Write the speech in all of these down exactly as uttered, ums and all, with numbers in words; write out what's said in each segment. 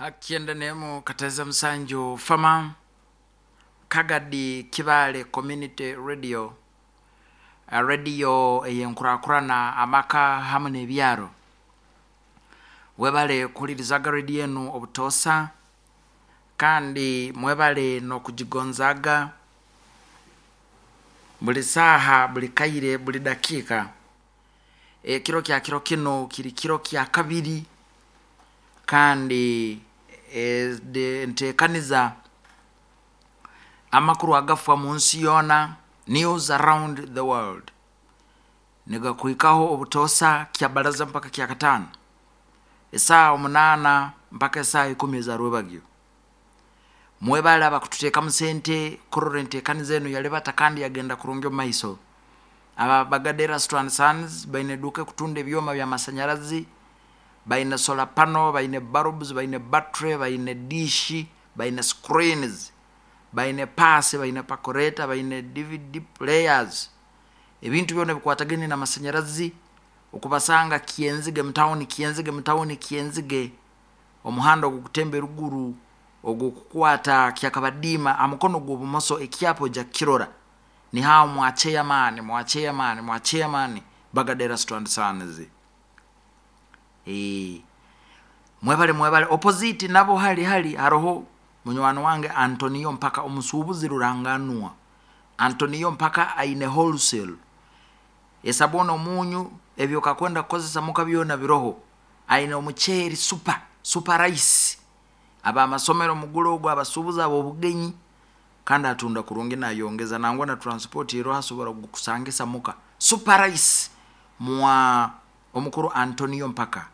Hakyenda nemu kateza musanju fama Kagadi Kibale Community Radio, radio eyenkurakurana amaka hamu n'ebyaro. Webale kuhulirizaga radio enu obutosa, kandi mwebale n'okugigonzaga buli saaha, buli kaire, buli dakiika. Ekiro kya kiro kino kiri kiro kya kabiri, kandi enteekaniza amakuru agafa mu nsi yoona, news around the world, nigakuhikaho obutosa kya baraza mpaka kya kataano, esaaha omunaana mpaka esaaha ikumi eza rwebagyo. Mwebale abakututeekamu sente kurora enteekaniza enu yalibata kandi yagenda kurungi omu maiso. Aba Bagadera Store and Sons baine eduuka ekutunda ebyoma by'amasanyarazi, baine solar panel, baine bulbs, baine battery, baine dish, baine screens, baine paasi, baine percolator, baine D V D players, ebintu byona ebikwatagaine n'amasanyarazi. Okubasanga Kyenzige mutawuni, Kyenzige mutawuni, Kyenzige, omuhanda ogukutemba eruguru ogukukwata Kyakabadiima amukono gw'obumoso, ekyapa ojja kukirora, nihaho mwa chairman, mwa chairman, mwa chairman Bagadera Store and Sons. Ee, mwebale, mwebale. Opposite nabo hali hali haroho munywani wange Antonio Mpaka, omusuubuzi ruranganwa. Antonio Mpaka aine wholesale, esabuni, omunyu, ebyo kakwenda kukozesa muka byona biroho. Aine omuceeri super super rice, abamasomero mugule ogwo, abasuubuzi ab'obugenyi, kandi atunda kurungi nayongeza nangwa na transport eroho, asobora kukusangisa muka. Super rice mwa omukuru Antonio Mpaka.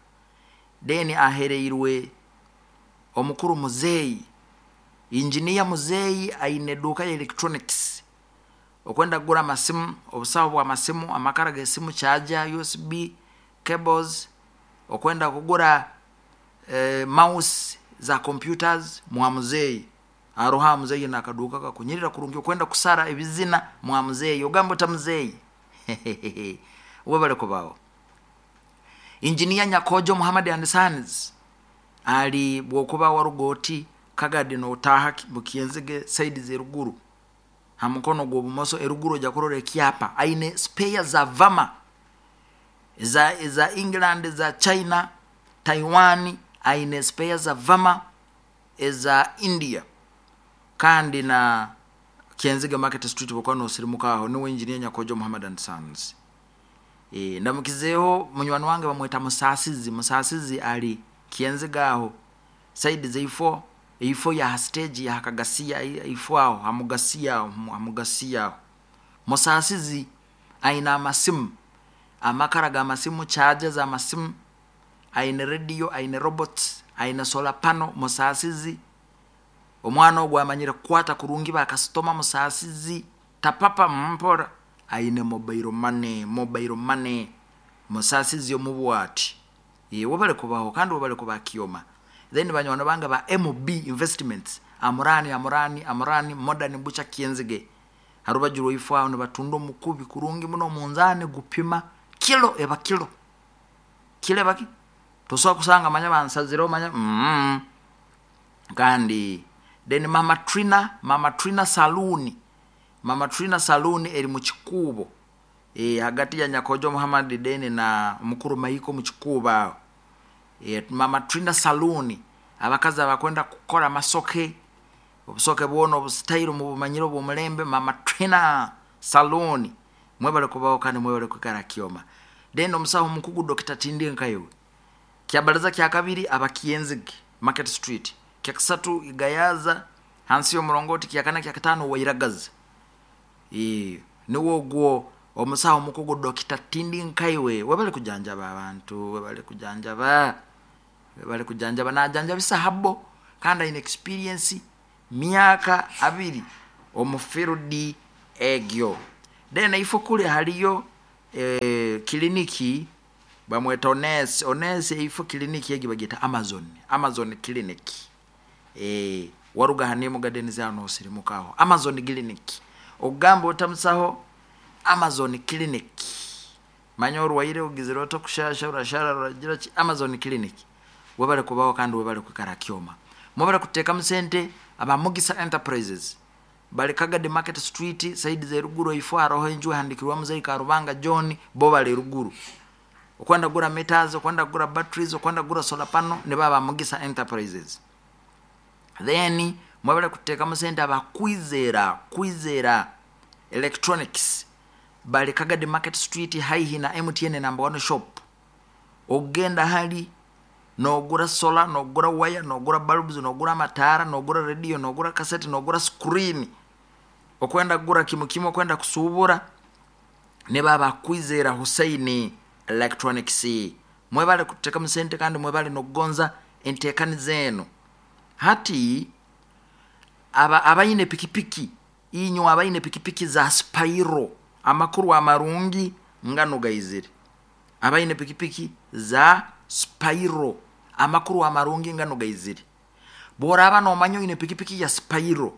Then ahereirwe omukuru muzeeyi, injiniya muzeeyi, aine eduuka ya electronics. Okwenda kugura amasimu, obusaho bw'amasimu, amakara g'esimu, charger, U S B cables, okwenda kugura eh, mouse za computers, mwa muzeeyi aroha. Muzeeyi nakaduuka kakunyirira kurungi. Okwenda kusara ebizina, mwa muzeeyi, ogamba ota muzeeyi, webale kubaho. Injiniya Nyakojo Muhammad and Sons ali bwokuba waruga oti Kagadi notaha Mukyenzige, side z'eruguru, ha mukono gw'obumoso eruguru ojja kurora ekyapa. Aine spare za Vama, eza, eza England, eza China, Taiwan, aine spare za Vama eza India. Kandi na Kyenzige Market Street bwokuba nosirimuka aho, niwe Engineer Nyakojo Muhammad and Sons. E, ndamukizeeho munywani wange bamweta Musasizi. Musasizi ali Kyenzige aho side zeifo, eifo ya stage ya Hakagasiya, ifo aho hamugasiya, aho hamugasiya aho. Musasizi aine amasimu, amakara g'amasimu, charger z'amasimu, aine radio, aine robots, aine solar panel. Musasizi omwana ogwo amanyire kukwata kurungi bakasitoma. Musasizi tapapa mpora, aine mobile money, mobile money. Musasizi omubwati, webale kubaho kandi webale kuba kyoma. Then banywani bange ba M B Investments, Amurani, Amurani, Amurani Modern Butcher, Kyenzige harubaju rwaifu aho, nibatunda omukubi kurungi muno, omunzani gupima kilo eba kilo, kilo eba ki tosobola kusanga manya bansazireho manya mm. Kandi then Mama Trina, Mama Trina Saloon, Mama Trina Saloon eri mu Kikuubo, e, hagati ya Nyakojo Muhammad deni na mukuru Maiko mu Kikuubo aho. E, Mama Trina Saloon, abakazi abakwenda kukora amasoke, obusoke bwona obusitayiro mubumanyire obw'omulembe, Mama Trina Saloon, mwebale kubaho kandi mwebale kwikara kyoma. Then omusaho omukugu Dokita Tindi Nkayowe, kyabaraza kya kabiri Abakyenzige Market Street, kyakasatu Igayaza hansi y'omurongoti, kyakana, kyakataano Wairagaza. E, niwo ogwo omusawo omukugu Dokita Tindi Nkaiwe, webale kujanjaba abantu, webale kujanjaba, webale kujanjaba. Najanjabisa habo kandi aine experience myaka abiri omu field egyo. Then ifo kuli haliyo eh, kiliniki bamweta Ones Ones. Ifo kiliniki egi bagita Amazon, Amazon Clinic. eh, waruga hanimu Gardens aho nosirimukaho, Amazon Clinic. Ogamba otamusaho Amazon Clinic, manya orwaire, ogizire ota kushasha, urashara, uragira ki, Amazon Clinic, webale kubaho kandi webale kwikara kyoma. Mwebale kuteekamu sente aba Mugisa Enterprises bali Kagadi Market Street side z'eruguru, ifo haroho enju ehandikirwa Muzei Karubanga John, bo bali eruguru. Okwenda kugura meters, okwenda kugura batteries, okwenda kugura solar panel, ne baba Mugisa Enterprises. Then mwebale kuteekamu sente aba Kwizera, Kwizera Electronics bali Kagadi Market Street haihi na M T N number one shop. Ogenda hali nogura solar, nogura wire, nogura bulbs, nogura matara, nogura radio, nogura cassette, nogura screen. Okwenda kugura kimu kimu, okwenda kusubura, ne baba Kwizera Hussein Electronics. Mwebale kuteekamu sente kandi mwebale nokugonza enteekaniza eno. Hati aba abayine pikipiki, inyo abayine pikipiki za Spyro, amakuru amarungi ngano gaizire. Abayine pikipiki za Spyro, amakuru amarungi ngano gaizire. Bworaba nomanya oyine pikipiki ya Spyro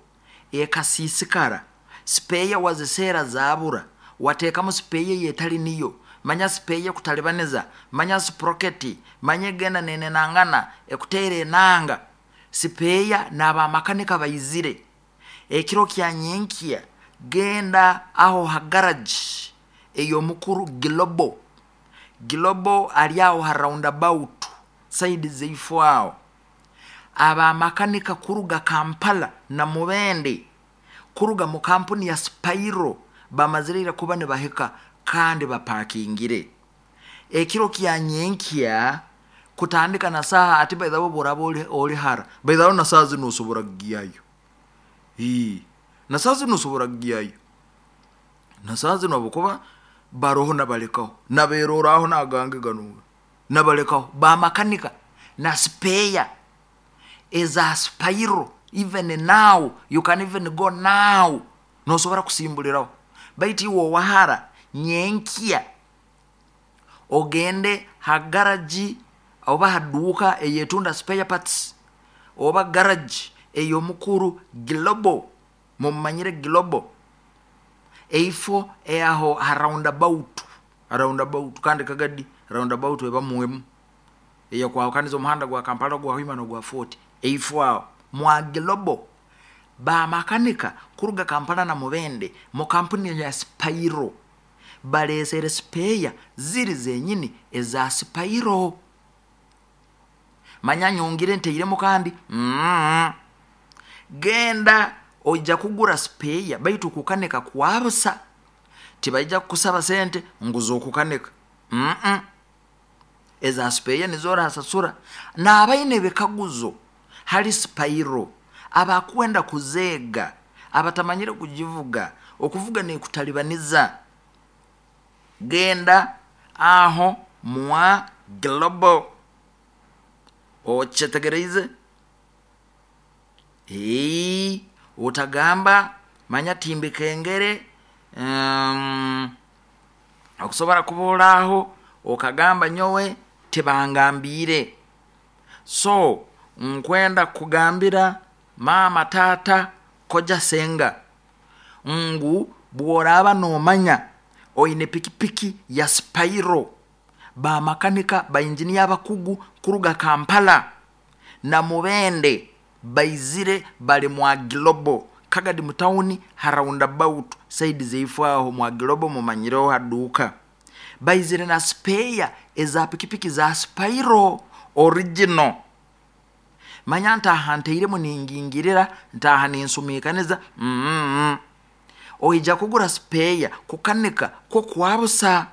ekasiisikara, spare wazisera zabura, wateekamu spare yetali niyo, manya spare kutalibaniza, manya sprocket, manya egenda nenenangana ekuteera enanga. Spare n'abamakanika bayizire. Ekiro kya nyenkya genda aho ha garage ey'omukuru Global. Global ali aho ha roundabout side zeifo aho. Abamakanika kuruga Kampala na Mubende kuruga mu kampuni ya Spyro bamazirira kuba ne baheka kandi bapakingire. Ekiro kya nyenkya kutandika na saha ati by the way boraba oli, oli hara by the way na saha zino osobora kugiyayo. Ii na saha zino osobora kugiyayo. Na saha zino abukuba baroho nabalekaho naberoraho nagange gano nabalekaho bamakanika na spare eza Spyro. Even now you can even go now nosobora kusimbuliraho. Baitu iwe wahara nyenkya ogende ha garage oba haduka eyetunda spare parts oba garage ey'omukuru Global, mumanyire Global eifo eaho ha roundabout, roundabout kandi Kagadi roundabout eba muwemu eyo kwawukaniza omuhanda gwa Kampala gwa Hoima no gwa Fort. Eifo aho mwa Global ba makanika kuruga Kampala na Mubende mu kampuni ya Spyro balesere spare ziri zenyini eza Spyro. Manya nyongire nteiremo kandi mm. Genda ojja kugura spare baitu kukaneka kwabusa tibaija kukusaba sente nguzo okukaneka mm -mm. Eza spare nizora hasasura. Na abaine bikaguzo hali Spyro abakwenda kuzega abatamanyire kujivuga okuvuga ne kutalibaniza, genda aho mwa Global ochetegereize. Ee utagamba manya timbi kengere um, okusobora kubolaho okagamba nyowe tebangambire. So nkwenda kugambira mama tata koja senga ngu bworaba nomanya oine pikipiki ya Spyro, ba makanika ba engineer abakugu kuruga Kampala na Mubende baizire bali mwa Global Kagadi mutauni ha roundabout side zeifo aho mwa Global mumanyireho haduka baizire na spare eza pikipiki za Spyro original. Manya ntaha nteiremu ningingirira ntaha ninsumikaniza mm -mm. Oija kugura spare kukanika ko kwabusa.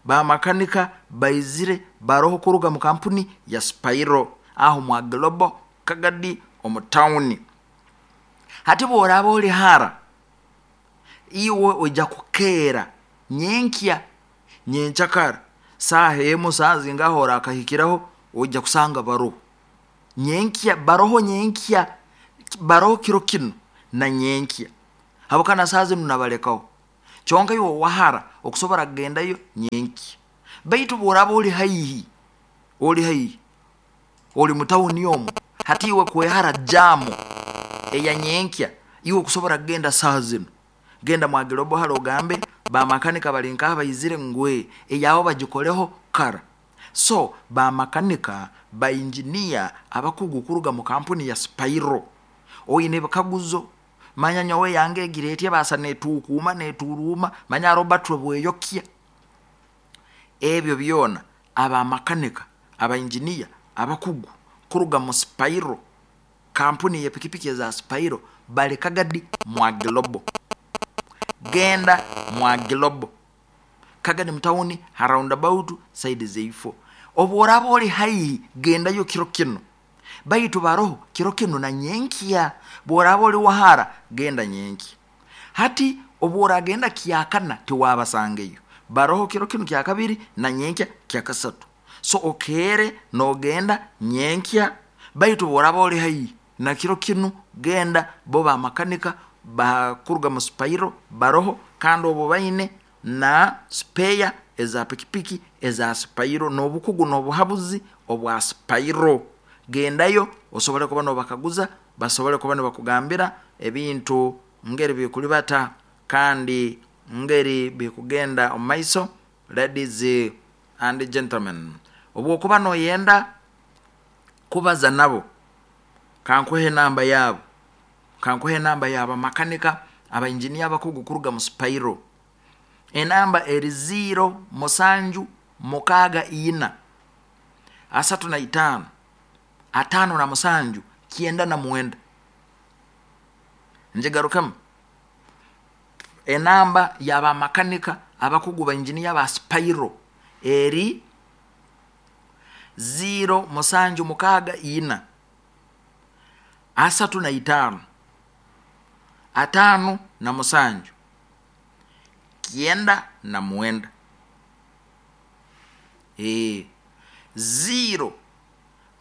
Ba makanika baizire baroho kuruga mu kampuni ya Spyro aho mwa Global Kagadi omutauni. Hati bworaba oli hara iwe oija kukera nyenkya nyenchakara saha emu saha zingaho orakahikiraho oija kusanga baroho nyenkya baroho nyenkya baroho kiro kino na nyenkya habukana saha zinu nabalekaho. Kyonka iwe wahara okusobora kugendayo nyenkya. Baitu bworaba oli haihi oli haihi oli mutauni omu hati iwe kwehara jamu eya nyenkya iwe kusobora kugenda saha zinu genda mwa Global halo ogambe ba makanika bali nkaha bayizire ngwe eyabo bagikoleho kara. So bamakanika, bainjiniya abakugu kuruga mu kampuni ya Spiro, oine ebikaguzo, manya nyowe yange egira etya, basa netuukuma neturuuma, manya Robert bweyokya, ebyo byona abamakanika, abainjiniya abakugu kuruga mu Spiro, kampuni y'epikipiki eza Spiro, bali Kagadi mwa Global. Genda mwa Global Kagadi mutawuni ha roundabout side zeifo. Obu oraba oli haihi, gendayo kiro kino, baitu baroho kiro kino na nyenkya. Bworaba oli wahara, genda nyenkya. Hati obu oragenda kyakana, tiwabasangeyo. Baroho kiro kino kyakabiri na nyenkya kyakasatu. So okeere nogenda nyenkya, baitu bworaba oli haihi na kiro kinu genda. Bo bamakanika bakuruga mu Spiro baroho, kandi obu baine na spare eza pikipiki eza Spiro n'obukugu n'obuhabuzi obwa Spiro. Gendayo osobole kuba nobakaguza, basobole kuba nibakugambira ebintu ngeri bikulibata kandi ngeri bikugenda omu maiso. Ladies and gentlemen, obwokuba noyenda kubaza nabo, kankuhe enamba yaabo, kankuhe enamba yaba makanika, abainjiniya abakugu kuruga mu Spiro. Enamba eri ziro musanju mukaaga ina asatu na itaano atano na musanju kyenda na mwenda. Njigarukemu, enamba y'abamakanika abakugu bainjiniya ba Spiro eri ziro musanju mukaaga ina asatu na itaano atano na musanju kyenda na mwenda. E, ziro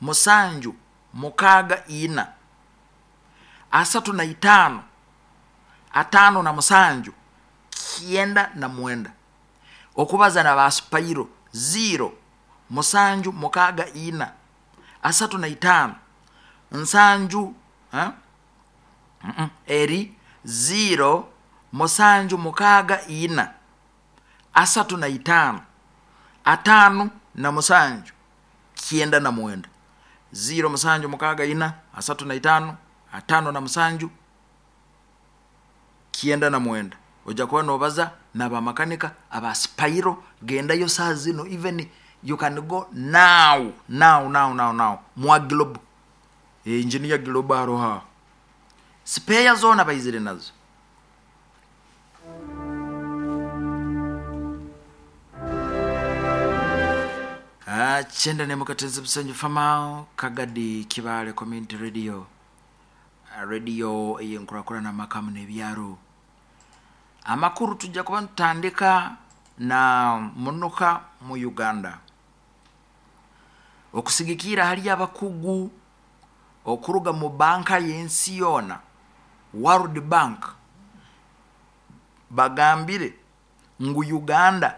musanju mukaaga ina asatu na itaano atano na musanju kyenda na mwenda. Okubaza na ba Spiro, ziro musanju mukaaga ina asatu na itaano nsanju, ha? Mm -mm. Eri ziro musanju mukaaga ina asatu na itaano atano na musanju kyenda na mwenda. Ziro musanju mukaaga ina asatu na itaano atano na musanju kyenda na mwenda. Ojja kuba nobaza n'abamakanika aba Spiro. Gendayo saa zino, even you can go now now now now now mwa Global. E, engineer Global aroha spare zona baizire nazo. Ah, chenda nemukatenzi busanju famao Kagadi Kibale Community Radio, radio eyenkurakurana makamu n'ebyaro. Amakuru tujja kuba tutandika na munuka mu Uganda okusigikira hali abakugu okuruga mu banka y'ensi yoona, World Bank, bagambire ngu Uganda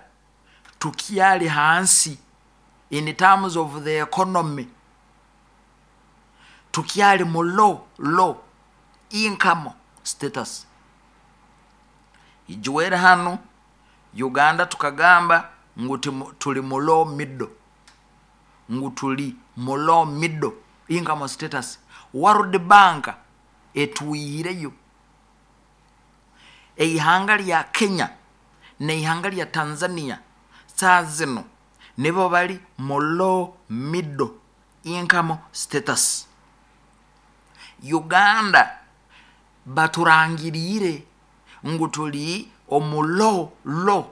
tukyali hansi in terms of the economy, tukyali mu low low income status. Ijuwere hano Uganda tukagamba ngu tuli mu low middle, ngu tuli mu low middle income status. World Bank etuyireyo. Eihanga lya Kenya neihanga lya Tanzania saa zino nibo bali mu low middle income status. Uganda baturangirire ngu tuli omu low low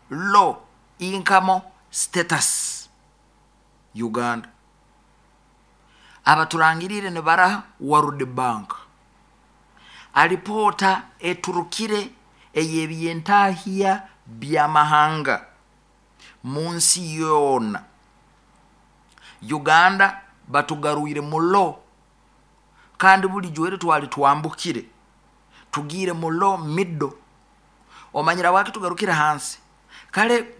low income status. Uganda abaturangirire ni baraha World Bank. Alipota eturukire eyebyentahya byamahanga munsi yoona, Uganda batugarwire mu low, kandi buli jwere twali twambukire tugire mu low middle. Omanyira waki tugarukire hansi kale